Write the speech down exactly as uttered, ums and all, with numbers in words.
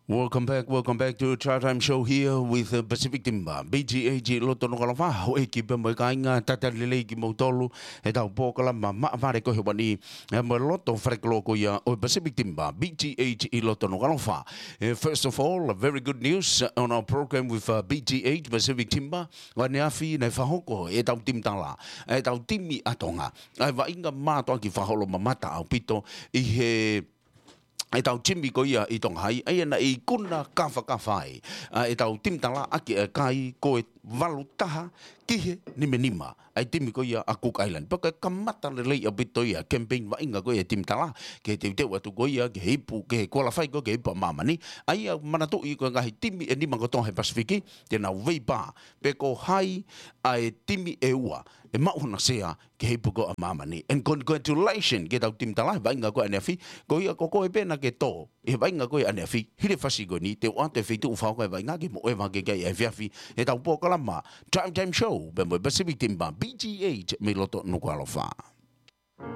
Welcome back, welcome back to Drive Time Show here with the Pacific Timber, B T H ʻi loto Nukuʻalofa. Houʻeiki pea mo e kāinga, talitali lelei kimoutolu ʻi heʻetau polokalama maʻa vale ko ē he ʻaho ni, ʻi he loto falekoloa ko ia ʻo e Pacific Timber, B T H ʻi loto Nukuʻalofa. Eh, first of all, a very good news on our program with, uh, B T H Pacific Timber. ʻAneafi naʻe fakahoko ʻe heʻetau timi tala, ʻetau timi ʻa Tonga, ʻa e vaʻinga mātuʻaki fakaholomamata ʻaupito ʻi he ʻetau timi ko ia ʻi Tonga Hai, ʻa ia naʻe ikuna kafakafa ai ʻa ʻetau timi tala ʻaki ʻa e kai ko e valu taha ki he nima nima ʻa e timi ko ia ʻa Cook Island. Pea ko e kamata lelei ʻaupito ia campaign vaʻinga ko ia timi tala, ke teuteu atu ko ia ke ipu, ke qualify ko ia ke ipu ʻa māmani. ʻA ia manatuʻi ko e ngaahi timi ʻe nima kotoa he Pasifiki, te nau veipā pe ko hai ʻa e timi ʻe ua ʻe maʻu hona sea ke ipu ko ia ʻa māmani. And congratulations ki heʻetau timi tala he vaʻinga ko ia ʻaneafi. Ko ia ko koe pē naʻa ke tō ʻi he vaʻinga ko ia ʻaneafi, hilifasi ko eni te u ʻoatu e feituʻu fakahoko e vaʻinga ke mou ʻeva hake ki ai he efiafi ʻi heʻetau polokalama Drive Time Show pea mo e Pacific Timber, B T H mei loto Nukuʻalofa.